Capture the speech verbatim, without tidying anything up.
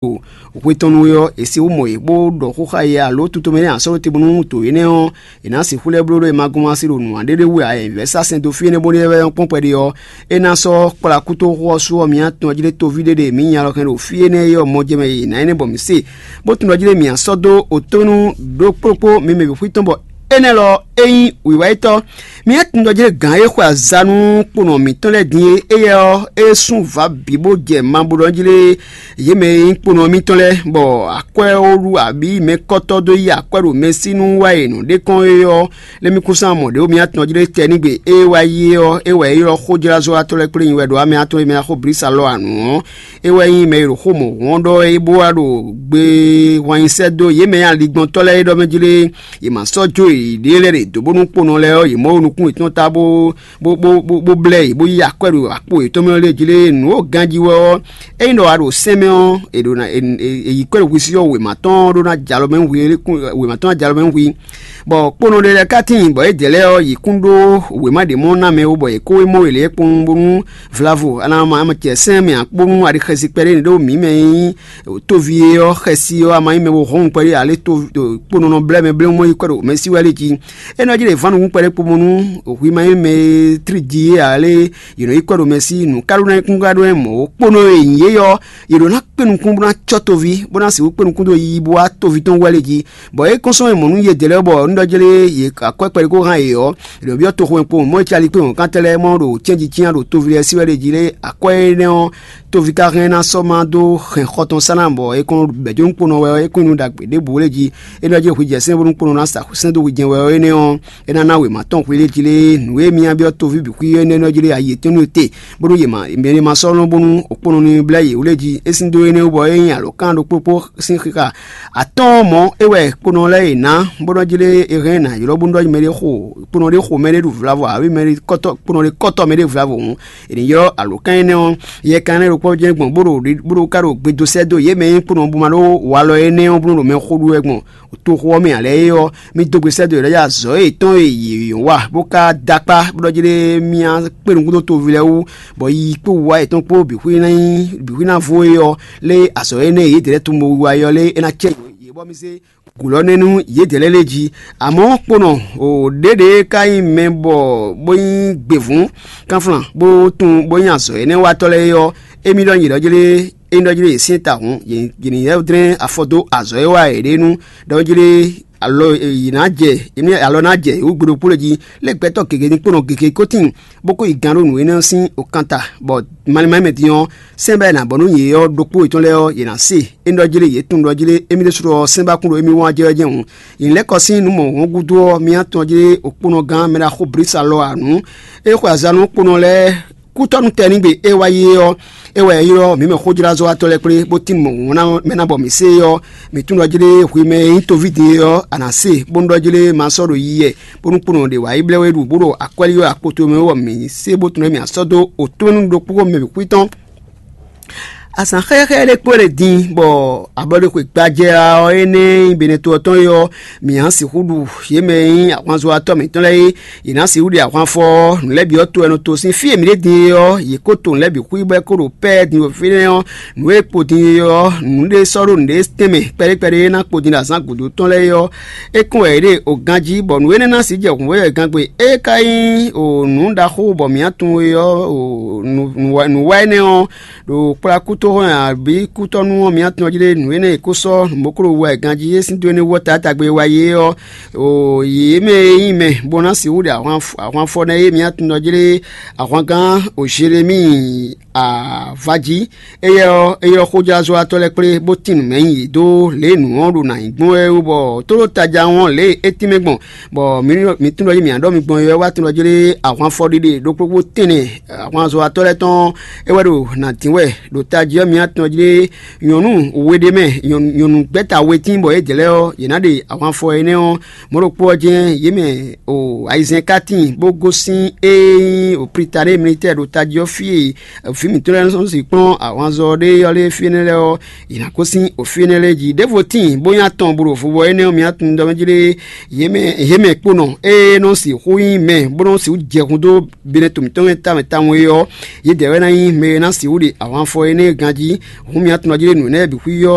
ɖo hwe tɔn nu é ɔ́, è sixú mɔ yě bó ɖɔ xó xá yě alo tutomɛ nɛ́ ǎ sɔ́ ɖó te bónú to énɛ́ ɔ́, è nǎ sixú lɛ́ bló ɖó è ma gɔ́n wá sí ɖo nǔ ǎ ɖé ɖé wú ǎ. È vɛ̌ sá sɛn dó fí énɛ́ bónú é wɛ nyɔ́ kpɔ́n kpɛɖé ɔ́, é ná sɔ́ kplá kútóxó ɔ́ sú ɔ́, mǐ atɔn jí ɖé toví ɖé ɖe mǐ nya lɔ hɛn ɖo fí énɛ́ é ɔ́ mɔ jɛ mɛ e è nǎ énɛ́ bɔ mǐ se, bó tunwun ɖɔ jí ɖé mǐ sɔ́ dó otɔ́nú ɖó kplókpó mi mɛ bǐ xwítɔ́n bɔ énɛ́ lɔ é nyí wǐwá yětɔn. Mǐ atɔn ɖɔ jí ɖé gǎn e xwe aza nú kponɔ mǐtɔn lɛ́ɛ din é, éyɛ́ ɔ́, é sú vǎ bǐ bó jɛ ma bó ɖɔ jí ɖé yě mɛ e nyí kponɔ mitɔn lɛ́ɛ, bɔ akwɛ́ ó ɖu abǐ mɛkɔ́tɔ́ dó yí akwɛ́ ɖo mɛsínú wá e nǔ ɖé kɔn é ɔ́, lɛ́ mì kún sán mɔ̌ ɖé ó mì atɔn jí ɖé tɛ nígbe é wá yi é ɔ́, é wɛ é ylɔ́ xójlázɔ́watɔ́ lɛ́ɛ kplé nyi wɛ ɖo amɛ atɔn e mɛ ná xó Blisa lɔ ǎ nǔ ɔ́, é wɛ nyí mɛ e ɖo xó mɔ̌ hɔn ɖɔ é bó wá ɖo gbe wanyisɛ́ dó yě mɛ e aligbɔntɔ́ lɛ́ɛ é ɖɔ mɛ jí ɖé yě ma sɔ́ jó yěɖée lɛ́ɛ ɖe dǒ bónú kponɔ lɛ́ɛ ɔ́, yě mɔ wo nukún yětɔn ta bó bó bó bó bó blɛ́ yě bó yí akwɛ́ ɖo akpo yětɔn mɛ lɛ́ɛ jí lé nǔ e ganjí wɛ ɔ́, ényí ɖɔ a ɖo sɛn mɛ ɔ́, è ɖo ná è è- è yi kwɛ́ ɖo hwisí ɔ́ wěma tɔn ɖó ná jalɔ mɛ hu wěma tɔn ná jalɔ mɛ hu. Bɔ kponɔ ɖé lɛ́ɛ ka tíin bɔ yědɛɛ lɛ́ɛ ɔ́, yě kún ɖó wěma ɖě mɔ ná mɛ ó, bɔ yě kó é mɔ wě lɛ́ɛ kpɔ́n bónú vlavo ana ma cɛ sɛn mɛ akpónú aɖixɛsi kpɛɖé ɖó mǐ mɛ nyí tóvi é ɔ́ xɛsi ɔ́ ama nyí mɛ bo hɔn kpɛɖé alé tó kponɔ nɔ blɛ́ mɛ blɛ́ mɔ yi kwɛ́ ɖo mɛ sí wɛ lé jí. É nɔ jí ɖe vǎn nukún kpɛɖé kpo mɔ nú hwi ma nyí mɛ e tlí ji é ǎ lé, yě nɔ yi kwɛ́ ɖo mɛ sí nǔ ká ɖó ná nyí kún ká ɖó ná nyí mɔ̌ ó. Kponɔ e nyǐ é ɔ́, yě ɖǒ ná kpé nukún bó ná cɔ́ toví, bó ná sixú kpé nukún dó yiyi bó wá toví tɔn wɛ lé jí. Bɔ é kɔn sɔ́ mɛ mɔ̌ nú yědɛɛ lɛ́ɛ bɔ un ɖɔ jlé yě akwɛ́ kpɛɖé kó hán yě ɔ́, yě ɖɔ byɔ́ toxo e kpo mɔ̌ e cali kpé wɔ̌nkántɛ́ lɛ́ɛ mɔ ɖo cɛ́nji cyán ɖo toví lɛ́ɛ sí wɛ lé jí lé akwɛ́ énɛ́ ɔ́, toví ka hɛn ná sɔ́ má dó hɛn xɔ tɔn sá ná bɔ é kɔn bɛ̌ jó nú kponɔ wɛ ɔ́, é kún nú ɖagbe ɖěbǔ lé jí. É nɔ jɛ hwi jɛ sɛ́n bónú kponɔ ná sa sɛ́n dó hwi jɛ́n wɛ ɔ́ énɛ́ ɔ́, é ná ná wěma tɔn hwi lé jí lé nǔ e mì byɔ́ toví bǐ xwí énɛ́ nɔ jí lé ayi tɔn nú te, bónú yě ma yě ma sɔ́ nɔ bónú okponɔ ní blɛ́ yě wú lé jí. É sín dó énɛ́ wú bɔ é nyí alǒkan ɖokpó kpó sín xixa atɔ́ɔ́n mɔ̌ é wɛ kponɔ lɛ́ɛ yě ná, bó nɔ jí lé é hɛn ná ylɔ́ bónú ɖɔ mɛ ɖé xo kponɔ ɖé xo mɛ ɖé ɖu vlavo ǎ, mɛ ɖé kɔ́tɔ́ kponɔ ɖé kɔ́tɔ́ mɛ ɖé vlavo hǔn, è nǐ ylɔ́ alǒkan énɛ́ ɔ́. Yɛ kan énɛ́ ɖokpó jɛ́n gbɔn bó ɖo bó ɖo ka ɖo gbedo sɛ́ dó yě mɛ e nyí kponɔ bó ma ɖó walɔ énɛ́ ɔ́ bónú ɖo mɛ xó ɖu wɛ gbɔn toxo ɔ́ mɛ ǎ lɛ́ɛ é ɔ́, mì dó gbe sɛ́ dó yě lɛ́ɛ azɔ̌ yětɔn e yě wa bó ka dó akpá bó ɖɔ jí ɖé mì kpé nukún dó toví lɛ́ɛ wú, bɔ yi kpó wǔwá yětɔn kpó bǐ xwí ná nyí bǐ xwí ná vo é ɔ́, lé azɔ̌ énɛ́ e yědɛɛ lɛ́ɛ tunwun bó wiwa é ɔ́ lé é ná cɛ yě bɔ mì zé gǔlɔ́nɛ́ nú yědɛɛ lɛ́ɛ lé jí. Amɔ̌ kponɔ ɖěɖě ka nyí mɛ bɔ bó nyí gběvǔn kánflán bó tunwun bó nyí azɔ̌ énɛ́ watɔ́ lɛ́ɛ é ɔ́, émí ɖɔ nyǐɖɔ jlé é ɖɔ jlé yě syɛ́n ta hǔn, yě ní lɛ́ dlɛ́n afɔ dó azɔ̌ e wa yě ɖe nú ɖɔ jlé alɔ yě ná jɛ yě ní alɔ ná jɛ yě wú gbe ɖokpó lɛ́ɛ jí. Lé gbɛtɔ́ gěgé ní kponɔ gěgé kó tíin, bó kó yi gán ɖó nǔ énɛ́ ɔ́ sín okanta, bɔ malín mɛ din ɔ́, sɛ́n bɔ è nǎ bɔ nú yě ɔ́ ɖokpó yětɔn lɛ́ɛ ɔ́, yě ná se. É ɖɔ jlé yě tunwun ɖɔ jlé émí ɖésú ɔ́ sɛ́n ba kún ɖo émí wán jɛ wɛ jɛ́n hǔn. Yě lɛ́ kɔ sín nǔ mɔ̌hun gúdo ɔ́, mì atɔn jlé okponɔ gán mɛ ɖaxó Blisa lɔ ǎ nú é xwe aza nú kponɔ lɛ́ɛ kútɔ́nú tɛnigbe e wá yi é ɔ́, é wɛ é ylɔ́ mǐ mɛ xójlázɔ́watɔ́ lɛ́ɛ kplé bó tín mɔ̌ ná mɛ ná bɔ mǐ se é ɔ́, mǐ tunwun ɖɔ jlé hwi mɛ e nyí toví din é ɔ́, a nǎ se, bónú ɖɔ jlé ma sɔ́ ɖo yiyi wɛ, bónú kponɔ ɖě wá yi blɛ́ we ɖu bó ɖo akwɛ́lí ɔ́ akpoto mɛ bɔ mǐ se bó tunwun ɖɔ mǐ ná sɔ́ dó otɔ́nú ɖokpó mɛ bǐ xwítɔ́n. Azǎn xɛxɛ ɖé kpó ɖe din bɔ abɔɖexwe gbajɛ ɔ́ énɛ́ e nyí Benɛto ɔ́ tɔn é ɔ́, mǐ ná sixú ɖu yě mɛ e nyí ahwanzɔ́watɔ́ mǐtɔn lɛ́ɛ é. Yě ná sixú ɖe ahwan fɔ ɔ́, nǔ lɛ́ɛ bǐ ɔ́ to wɛ nɔ to sín fí e mǐ ɖe din é ɔ́, yě kó to nǔ lɛ́ɛ bǐ xwí bɔ é kó ɖo pɛ́ɛ din ɖo fínɛ́ ɔ́, nǔ e kpo din é ɔ́, nǔ ɖé sɔ́ ɖó nǔɖé tɛnmɛ kpɛɖé kpɛɖé e ná kpo din ɖo azǎn gǔdo tɔn lɛ́ɛ é ɔ́, é kɔn wɛ yě ɖe o ganjí, bɔ nǔ énɛ́ ná sixú jɛ hǔnvɔ́yɔ́ gangbé. É ka nyí o nǔ ɖaxó bɔ mǐ tunwun é ɔ́, o nǔ nǔ wa énɛ́ ɔ́, ɖo kplá kútóxɔ́n abǐ kútɔ́nú ɔ́, mǐ tunwun jí ɖé nǔ énɛ́ e kó sɔ́ mɔ̌klo wa ganjí é sín dó énɛ́ wú ɔ́ taatagbe e wa yě ɔ́, o yě mɛ e nyí mɛ bó ná sixú ɖe ahwan ahwanfɔ nɛ́ é mǐ tunwun jí ɖé ahwangán o Zelemíi a va jí. Éyɛ́ ɔ́, é ylɔ́ xójlázɔ́watɔ́ lɛ́ɛ kplé bó tín nǔ mɛ nyi yě dó lě e nǔ ɔ́ ɖo nǎ nyí gbɔn wɛ é wú, bɔ tónú taja ɔ́ lě e é tínmɛ gbɔn, bɔ mǐ tunwun ɖɔ jí mǐ ná ɖɔ mi gbɔn é wɛ wá tunwun ɖɔ jí lé ahwanfɔ ɖiɖe ɖokpó kpó tɛnɛ ahwanzɔ́watɔ́ lɛ́ɛ tɔn é wɛ ɖo nǎ dín wɛ ɖo tají ɔ́ mǐ tunwun jí lé nyɔ̌nu we ɖé mɛ nyɔ̌nu gbɛ́ta we tíin bɔ yě dě lɛ́ɛ ɔ́, yě ná ɖe ahwanfɔ énɛ́ ɔ́. Mɔ̌ ɖokpó ɔ́ jɛ́n yě mɛ o ayizɛ́n ka tíin bó gosín ée nyí o Plitaɖée militɛ́ɛ ɖo tají ɔ́ fí e vǐ mǐtɔn lɛ́ɛ nɔ sixú kplɔ́n ahwanzɔ ɖé ɔ́ lɛ́ɛ fí énɛ́ lɛ́ɛ ɔ́, yě ná gosín o fí énɛ́ lɛ́ɛ jí. Ɖěvo tíin bó nyí atɔn bo ɖo vuvɔ énɛ́ ɔ́, mǐ tunwun ɖɔ mɛ jí ɖé yě mɛ yě mɛ kponɔ e nɔ sixú nyí mɛ bó nɔ sixú jɛ hun dó binɛ to mǐtɔn mɛ tawun tawun é ɔ́, yědɛɛ wɛ ná nyí mɛ e ná sixú ɖe ahwanfɔ énɛ́ ganjí, hǔn mi tunwun jí ɖé nǔ énɛ́ bǐ xwíyɔ́